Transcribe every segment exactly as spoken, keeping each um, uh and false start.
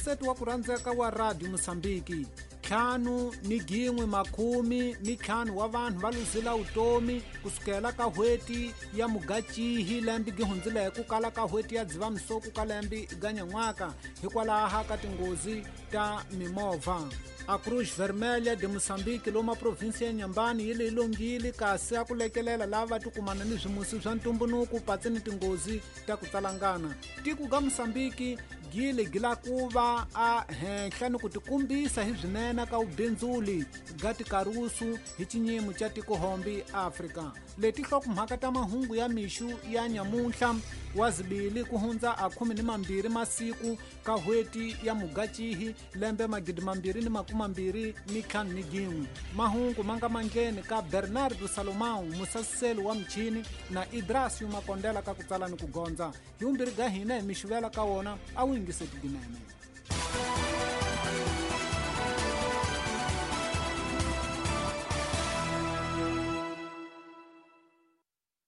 Muyingiseti wa ku rhandzeka wa Radio Mosambiki, ntlhanu ni gin'we makhumi ni ntlhanu wa vanhu va luzila vutomi kusukela ka n'hweti ya Mugachihi lembe gi hundzileke ku kala ka n'hweti ya Dzivamisoko ka lembe ga nyan'waka hikwalaho ka tinghozi ta mimovha. A Cruz Vermelha de Moçambique loma provinsia ya Inhambane yi le longile kasi a ku lekelela lava tikumana ni swimusi swa ntumbuluko patsi ni tinghozi ta ku tsalangana. Tiko ga Moçambique gile gila ku va a henhla ni ku tikumbisa hi swinene ka vubindzuli ga tikarusu hi xinyimo xa tikohombi Afrika. Leti nhlokomhaka ta mahungu ya mixu ya nyamuntlha wa zibili ku hundza a khume ni mambirhi masiku ka n'hweti ya Mugachihi lembe magidi mambirhi ni makumi mambirhi ni ntlhanu ni gin'we. Mahungu ma nga mandleni ka Bernardo Salomão musasiseli wa michini na Idrasio Makondela ka ku tsala ni ku gondza. Hi vumbirhi ga hina hi mixuvela ka wona a wu yingiseti ginene.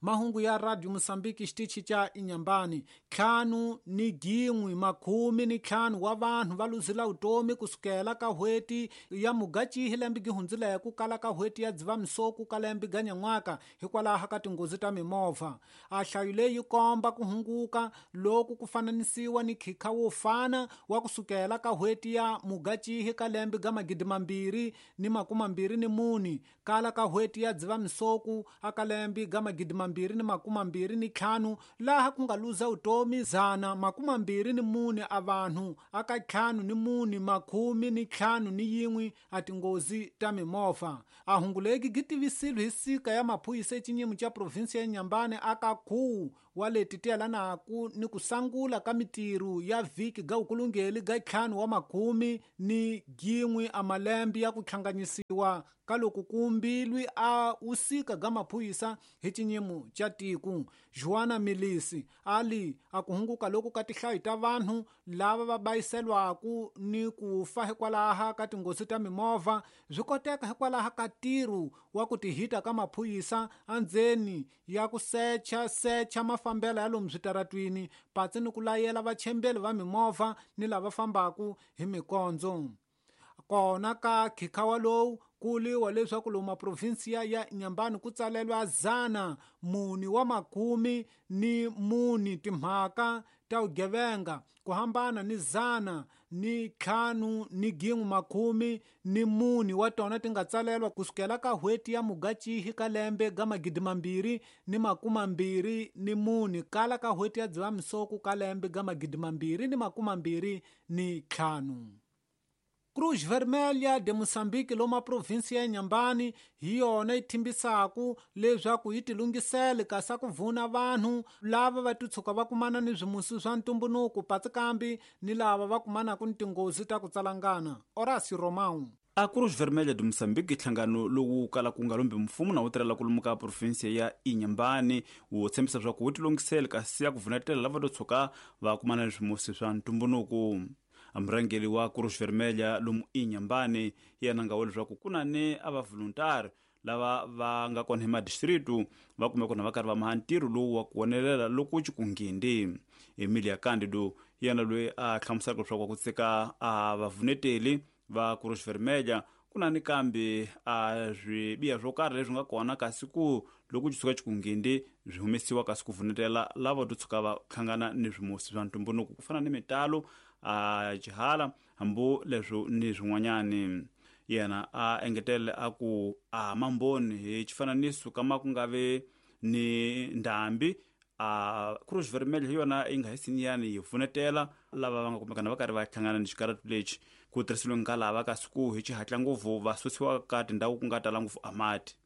Mahungu ya Radio Mosambiki xitichi xa Inhambane, ntlhanu ni gin'we makhumi ni ntlhanu wa vanhu va luzila vutomi kusukela ka n'hweti ya Mugachihi lembe gi hundzileke ku kala ka n'hweti ya Dzivamisoko ka lembe ga nyan'waka hikwalaho ka tinghozi ta mimovha. A nhlayo leyi yi komba ku hunguka loku ku fananisiwa ni khikha wo fana wa kusukela ka n'hweti ya Mugachihi ka lembe ga magidi mambirhi ni makumi mambirhi ni mune kala ka n'hweti ya Dzivamisoko aka lembe ga magidi mambirhi ni makumi mambirhi ni ntlhanu laha ku nga luza vutomi zana makumi mambirhi ni mune a vanhu aka ntlhanu ni mune makhumi ni ntlhanu ni yin'we a tinghozi ta mimovha. A hungu legi gi tivisile hi sika ya maphorisa exinyimo xa provinsi ya Inhambane aka khuwu wa leti ti yelanaku ni ku sangula ka mitirho ya vhiki ga vukulungeli ga ntlhanu wa makhumi ni gin'we a malembe ya ku hlanganyisiwa ka loko kumbilwi a usika ga maphorisa hi xinyimo xa tiko. Joana Milisi ali a ku hunguka loku ka tinhlayo ta vanhu lava va bayiselwaku ni ku fa hikwalaho ka tinghozi ta mimovha swi koteka hikwalaho ka ntirho wa ku tihita ka maphorisa endzeni ya ku secha secha mafambelo ya lomu switaratwini patsi ni ku layela vachembeli va mimovha ni lava fambaku hi mikondzo. Kona ka khikhawa lowu ku liwa leswaku lomu maprovinsiya ya Inhambane ku tsalelwa zana muni wa makhumi ni muni timhaka ta vugevenga ku hambana ni zana ni ntlhanu ni gin'we makhumi ni muni wa tona ti nga tsalelwa kusukela ka n'hweti ya Mugachihi ka lembe ga magidi mambirhi ni makumi mambirhi ni mune kala ka n'hweti ya Dzivamisoko ka lembe ga magidi mambirhi ni makumi mambirhi ni ntlhanu. Cruz Vermelha de Moçambique loma provinsia ya Inhambane hi yona yi thimbisaku leswaku yi tilunghisele kasi ku vuna vanhu lava va titshuka va kumana ni swimusi swa ntumbuluko patsi kambi ni lava va kumanaka ni tinghozi ta ku tsalangana. Horacio Romão. A Cruz Vermelha de Moçambique nhlangano lowu kalaka ku nga lombi mfumo na wu tirhela ku lomu ka provinsia ya Inhambane wu tshembisa leswaku wu tilunghisele kasi ya ku vunetela lava to tshuka va kumana ni swimusi swa ntumbuluko. Murhangeri wa Cruz Vermelha lomu Inhambane yena nga vula leswaku ku na ni a va voluntary lava va nga kona hi madistritu va kume kona va karhi va maha ntirho lowu wa ku wonelela loko ci ku nghindi. Emilia Candido yena loyi a hlamuselaka leswaku ku tsika a vavuneteli va Cruz Vermelha ku na ni kambe a swibiha swo karhi leswi nga kona kasi ku loko ci suka ci ku nghindi swi humesiwa kasi ku vunetela lava to tshuka va hlangana ni swimusi swa ntumbuluko ku fana ni mitalo a xihala hambi leswo ni swin'wanyani. Yena a engetele a ku a mamboni hi xifananiso kama ku nga ve ni ndhambi a Cruz Vermelha hi yona yi nga hi siniyani yi pfunetela lava va nga kumekana va karhi va hlangana ni xikaratu lexi ku tirhisiwe nga lava kasi ku hi xihatla ngopfu va susiwa ka tindhawu ku nga tala ngopfu a mati.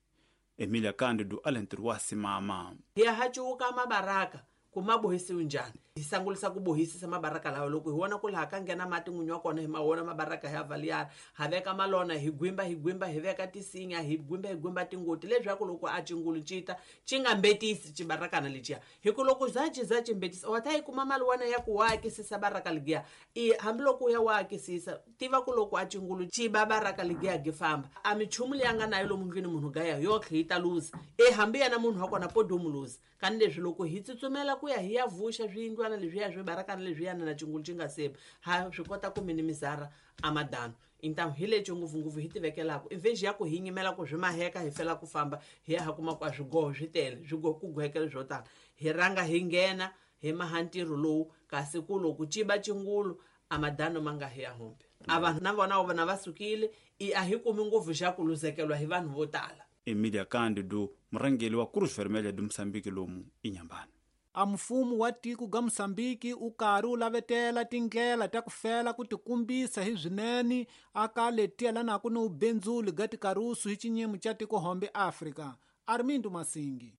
Emilia Candido a le ntirho wa simama. Hi ya hacuka mabaraka ku ma bohisiwe njhani hi sangulisa ku bohisisa mabaraka lawa loko hi vona ku laha ka nghena mati n'winyi wa kona hi ma vona mabaraka hi ya valiyara ha veka malona hi gwimba hi gwimba hi veka tisinya hi gwimba hi gwimba tingoti leswaku loko a cingulu cita ci nga mbetisi cibarakana leciya hi ku loko za ci za ci mbetisa wa ta yi kuma mali wana ya ku wa akisisa baraka ligiya i hambiloko u ya wa akisisa tiva ku loko a cingulu ci ba baraka ligiya gi famba a michumu leyi a nga nayo lomu ndlwini munhu gaya yotlhe yi ta luza e hambi yena munhu wa kona podomu luza kani leswi loko hi tsutsumela ku ya hi ya vuxa swiyindlwana swiyindlwana leswiya swi barakana leswiyana na cingulu xi nga seba ha swi kota ku minimizara a madano. Então hi lexi ngopfungopfu hi tivekelaka invexi ya ku hi nyimela ku swi maheka hi fela ku famba hi ya ha kuma ku a swigoho swi tele swigoho ku gohekele swo tala hi rhanga hi nghena hi maha ntirho lowu kasi ku loko ciba cingulu a madano ma nga hi ya humbe a vanhu na vona vona va sukile i a hi kumi ngopfu xa ku luzekelwa hi vanhu vo tala. Emilia Cândido, murhangeri wa Cruz Vermelha de Moçambique lomu Inhambane. A mfumo wa tiko ga Moçambique u karhi u lavetela tindlela ta ku fela ku tikumbisa hi swinene aka letiyelanaka ni ubenzuli ga tikarusu hi xinyimo xa tiko hombe Afrika. Armindo Masingi.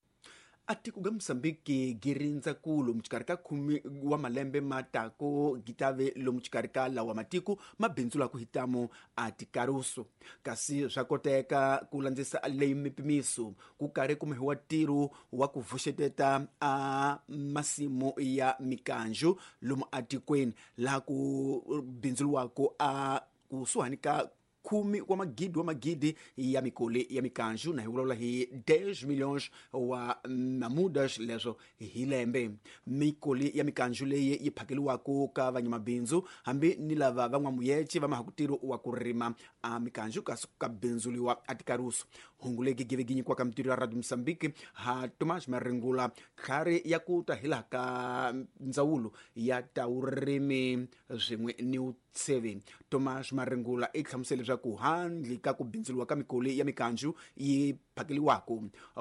A tiko ga Moçambique gi rindza ku lomu xikarhi ka khume wa malembe ma tako gi tave lomu xikarhi ka lawa matiko ma bindzulaka hi tamo a tikarusu kasi swa koteka ku landzisa leyi mipimiso ku karhi kumiwa ntirho wa ku vuxeteta a masimu ya mikanju lomu atikweni laha ku bindzuriwaka a kusuhani ka khume wa magidi wa magidi ya mikoli ya mikanju na hi vulavula hi dez milhões wa mamudas leswo hi lembe. Mikoli ya mikanju leyi yi phakeliwaka ka vanyamabindzu hambi ni lava van'wamuyece va mahakutirho wa ku rima a mikanju kasi ka bindzuliwa a tikarusu. Hungu legi give gi nyikiwaka mitirho ya Radio Moçambique ha Tomás Maringula tlhari ya ku ta hi laha ka ndzawulo ya ta vurimi swin'we ni vutsheve. Tomás Maringula i hlamusele leswaku handle ka ku bindzuriwa ka mikoli ya mikanju yi phakeliwaka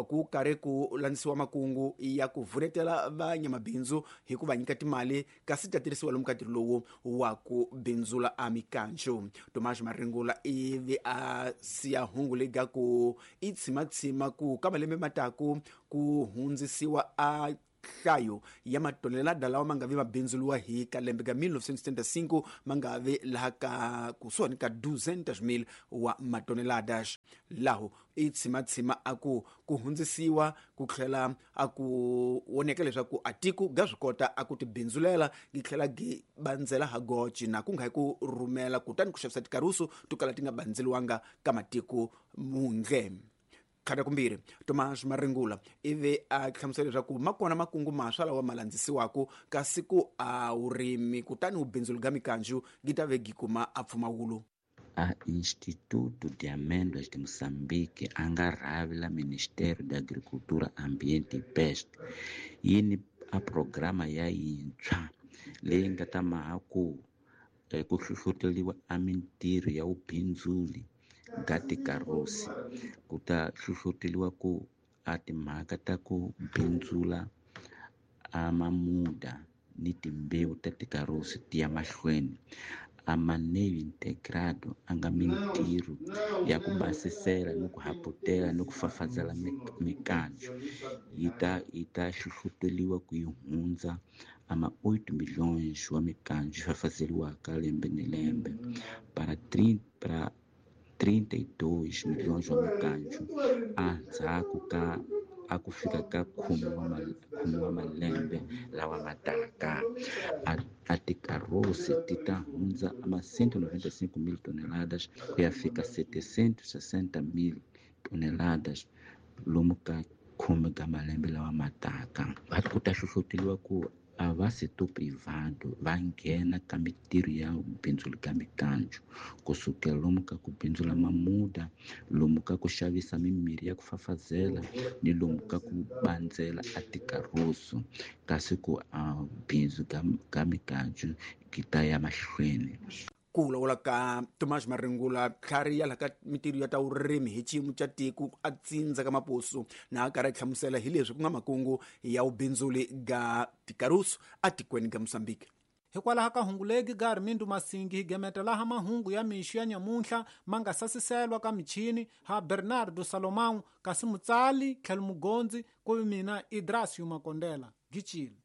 ku karhi ku landzisiwa makungu ya ku vunetela vanyamabindzu hi ku va nyika timali kasi ta tirhisiwa lomu ka ntirho lowu wa ku bindzula a mikanju. Tomás Maringula ivi a siya hungu leyi ga ku i tshimatshima ku ka malembe mataku ku hundzisiwa a nhlayo ya matonelada lawa ma nga vi mabindzuliwa hi ka lembe ka mil novecentos e setenta e cinco ma nga vi laha ka kusuhani ka duzentos mil wa matoneladas. Laho i tshimatshima a ku ku hundzisiwa ku tlhela a ku voneka leswaku a tiko ga swi kota a ku tibindzulela gi tlhela gi bandzela ha goci na ku nga hi ku rhumela kutani ku xavisa tikarusu to kala ti nga bandzeliwanga ka matiko mundle. Khata kumbirhi Tomás Maringula ivi a hlamusela leswaku ma kona makungu maswa lawa ma landzisiwaka kasi ku a vurimi kutani vubindzuli ga mikanju gi ta ve gi kuma a pfumawulo. A Instituto de Amêndoas de Moçambique a nga rhavi la Ministério da Agricultura, Ambiente e Pesca yi ni a programa ya yintshwa leyi nga ta maha ku ku hlohloteriwa a mintirho ya vubindzuli ga tikarusi ku ta hlohloteriwa ku a timhaka ta ku bindzula a mamuda ni timbewu ta tikarusi ti ya mahlweni. A manejo integrado a nga mintirho ya ku basisela ni ku haputela ni ku fafazela mikanju yi ta yi ta hlohloteriwa ku yi hundza a ma oito milhões wa mikanju yi fafazeliwaka lembe ni lembe para trinta para trinta e dois milhões wa mikanju endzhaku ka a ku fika ka khume wa khume wa malembe lawa ma taka. A tikarosi ti ta hundza ama cento e noventa e cinco mil toneladas ku ya fika setecentos e sessenta mil toneladas lomu ka khume ka malembe lawa ma taka. Ku ta hlohloteriwa ku a va setor privado va nghena ka mintirho ya bindzu ka mikanju kusukela lomu ka ku bindzula mamuda lomu ka ku xavisa mimirhi ya ku fafazela ni lomu ka ku bandzela a tikarusu kasi ku a bindzu ka, ka mikanju ki ta ya mahlweni. Ku vulavula ka Tomás Maringula tlhari ya laha ka mintirho ya ta vurimi hi xiyimo xa tiko a tsindza ka Mapuso na a karhi a hlamusela hi leswi ku nga makungu ya vubindzuli ga tikarusu atikweni ga Moçambique. Hikwalaho ka hungu legi ga Armindo Masingi hi gemeta laha mahungu ya mixo ya nyamuntlha ma nga sasiselwa ka michini ha Bernardo Salomão kasi mutsali tlhelo mugondzi ku vi mina Idrasio Makondela. Gichile.